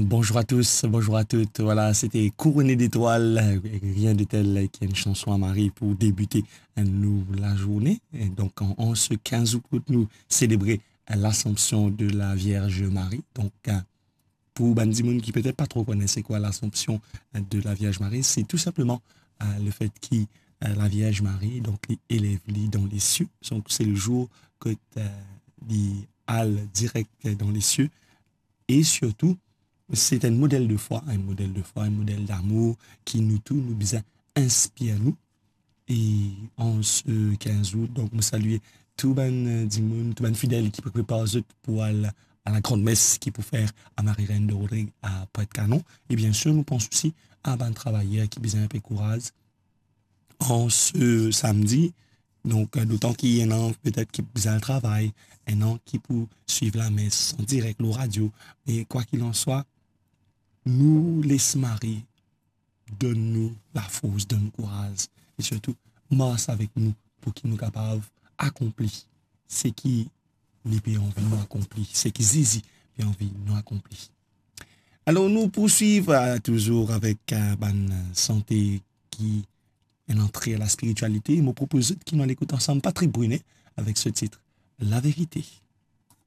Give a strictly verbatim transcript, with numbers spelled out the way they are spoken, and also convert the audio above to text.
Bonjour à tous, bonjour à toutes. Voilà, c'était Couronné d'étoiles, rien de tel qu'une chanson à Marie pour débuter, euh, nous, la journée. Et donc, en, en ce quinze août, nous célébrons, euh, l'Assomption de la Vierge Marie. Donc, euh, pour bann dimoun ki petet pa tro kone se kwa l'Assomption, euh, de la Vierge Marie, c'est tout simplement, euh, le fait que, euh, la Vierge Marie, donc, li elev li dan lesieu. Donc, c'est le jour que, euh, li al direct dans les cieux. E sirtou, se enn model de fwa, enn model de fwa, enn model damour ki nou tou, nou bizin inspir nou. E an se quinze août, donk, mo salie tou bann, euh, dimoun, tou bann fidel ki pou prepar zot pou al a la gran mes ki pou fer a Marie Reine de Rodrigues a Pointe-Canon. E bien sir, nou pans osi a bann travayer ki bizin inpe kouraz. An se samdi. Donk, euh, dotan ki ena petet ki pou al travay, ena ki pou swiv lames an direk lor radio. Me kwa qu'il en soit, nou les Marie donn nou lafors, donn nou kouraz, e sirtou mars avek nou pou ki nou kapav akonpli seki li pe anvi nou akonpli, seki Zezi pe anvi nou akonpli. Alor, nou pou swiv, euh, touzour avek, euh, bann sante ki enn antre a la spiritialite. Mo propoz zot ki nou al ekout ansam Patrick Brunet avek se tit La Verite.